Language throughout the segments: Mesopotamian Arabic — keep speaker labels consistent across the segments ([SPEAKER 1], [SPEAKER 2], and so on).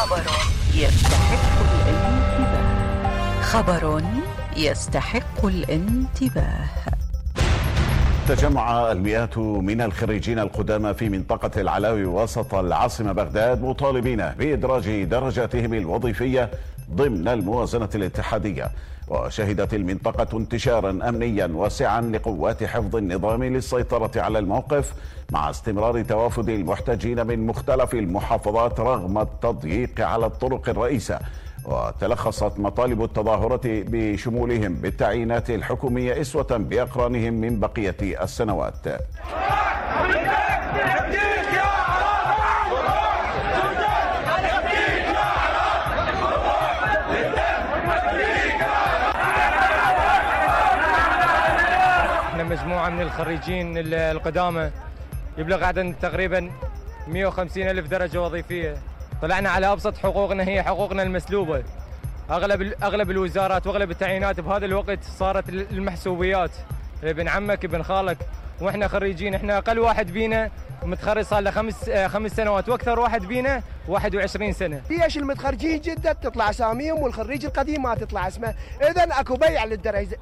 [SPEAKER 1] خبر يستحق الانتباه. خبر يستحق الانتباه.
[SPEAKER 2] تجمع المئات من الخريجين القدامى في منطقة العلاوي وسط العاصمة بغداد مطالبين بإدراج درجاتهم الوظيفية ضمن الموازنة الاتحادية. وشهدت المنطقة انتشارا أمنيا واسعا لقوات حفظ النظام للسيطرة على الموقف مع استمرار توافد المحتجين من مختلف المحافظات رغم التضييق على الطرق الرئيسة. وتلخصت مطالب التظاهرة بشمولهم بالتعيينات الحكومية إسوة بأقرانهم من بقية السنوات.
[SPEAKER 3] احنا مجموعة من الخريجين القدامى يبلغ عدد تقريبا 150 ألف درجة وظيفية. طلعنا على أبسط حقوقنا، هي حقوقنا المسلوبة. أغلب الوزارات وأغلب التعيينات بهذا الوقت صارت المحسوبيات، ابن عمك ابن خالك. وإحنا خريجين، إحنا أقل واحد بينا متخرج صار له 5 سنوات، وأكثر واحد بينا 21 سنة.
[SPEAKER 4] ليش المتخرجين جدد تطلع أساميهم والخريج القديم ما تطلع اسمه؟ إذن أكو بيع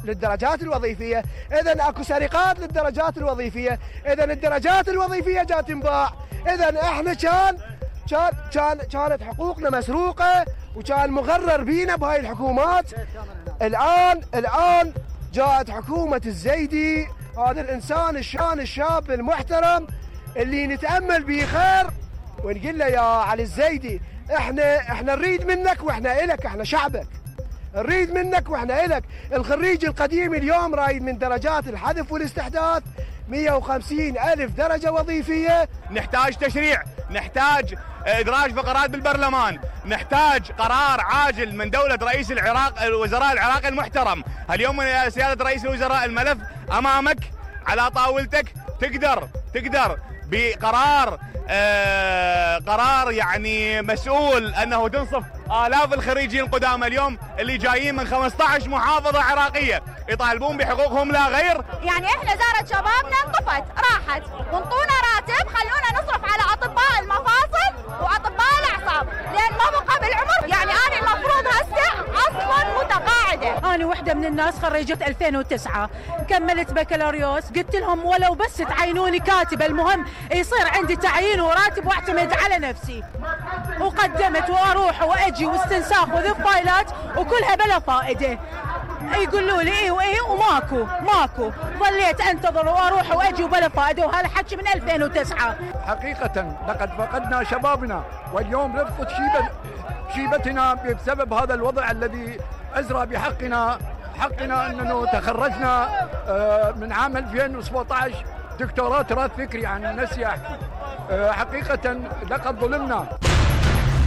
[SPEAKER 4] للدرجات الوظيفية، إذن أكو سرقات للدرجات الوظيفية، إذن الدرجات الوظيفية جات تنباع، إذن إحنا كانت حقوقنا مسروقة وكان مغرر بينا بهاي الحكومات. الآن جاءت حكومة الزيدي، هذا الإنسان الشاب المحترم اللي نتأمل به خير، ونقول له يا علي الزيدي احنا نريد منك واحنا إلك، احنا شعبك نريد منك واحنا إلك. الخريج القديم اليوم رايد من درجات الحذف والاستحداث 150 ألف درجة وظيفية.
[SPEAKER 5] نحتاج تشريع، نحتاج إدراج فقرات بالبرلمان، نحتاج قرار عاجل من دولة رئيس الوزراء العراقي المحترم. اليوم يا سيادة رئيس الوزراء الملف أمامك على طاولتك، تقدر بقرار قرار يعني مسؤول أنه تنصف آلاف الخريجين القدامى اليوم اللي جايين من 15 محافظة عراقية يطالبون بحقوقهم لا غير.
[SPEAKER 6] يعني احنا زارة شبابنا انطفت راحت، وانطونا راتب خلونا نصرف على أطباء المفاصل وأطباء الأعصاب لأن ما بقى بالعمر. يعني أنا المفروض هسه أصلا متقاعدة.
[SPEAKER 7] أنا وحدة من الناس خريجة 2009 كملت بكالوريوس، قلت لهم ولو بس تعينوني كاتبة المهم يصير عندي تعيين وراتب واعتمد على نفسي. وقدمت واروح واجي واستنساخ وذي فايلات وكلها بلا فائده. يقولوا لي ايه وايه وماكو ظليت انتظر واروح واجي وبلا فائده، وهذا حكي من 2009.
[SPEAKER 8] حقيقه لقد فقدنا شبابنا، واليوم رفضت شيبتنا بسبب هذا الوضع الذي أزرى بحقنا أننا تخرجنا من عام 2017 دكتوراه تراث فكري عن النسيح. حقيقة لقد ظلمنا.